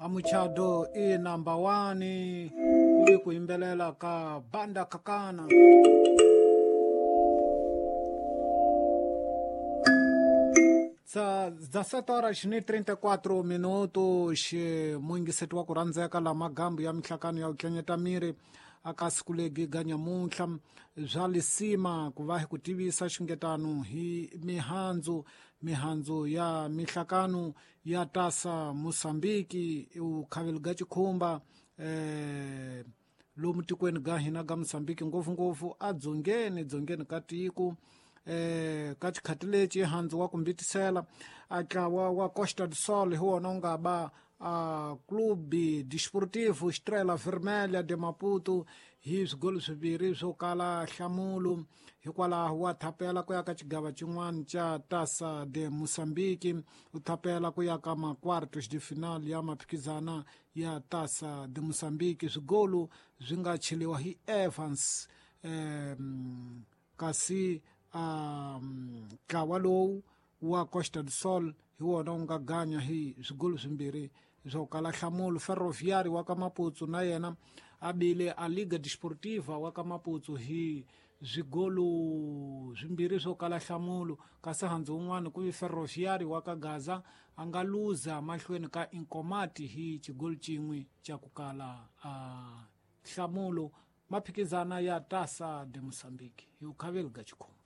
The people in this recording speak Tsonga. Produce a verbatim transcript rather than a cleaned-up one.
Amuchado i number one kuli kuimbelela ka banda kakana. dezessete horas e trinta e quatro minutos, muingisetu wa kurandzeka la magambo ya mihlakano ya ukenyeta miri akasikulegi ganyamunhla bya lisima ku va hi ku tivisa xingetano hi mihandzu mihandzu ya mihlakano ya tasa Mosambiki ukhaveli ga chikhumba eh lomu tikweni ga hina ga Mosambiki ngopfungopfu a dzongeni dzongeni ka tiko eh ka xikhati lexi handzu wa kumbitisela a tlawa wa Costa do Sol hi wona wu nga ba a Clube Desportivo Estrela Vermelha de Maputo hi swigolo swimbirhi swo kala nhlamulo hikwalaho wa thapela ku ya ka xigava xin'wana xa Taça de Moçambique u thapela ku ya ka ma-quartos de final ya maphikizana ya Taça de Moçambique swigolo swi nga cheliwa hi Evans um, kasi um, ntlawa lowu wa Costa do Sol hi wona wu nga ganya hi swigolo swimbirhi swo kala nhlamulo. Ferroviário wa ka Maputo na yena a bile a Liga Desportiva wa ka Maputo hi swigolo swimbirhi swo kala nhlamulo kasi handzu wun'wana ku vi Ferroviário wa ka Gaza a nga luza mahlweni ka Inkomati hi xigolo xin'we xa ku kala a nhlamulo maphikizana ya Taça de Moçambique hi ukhaveli ga chikhumba.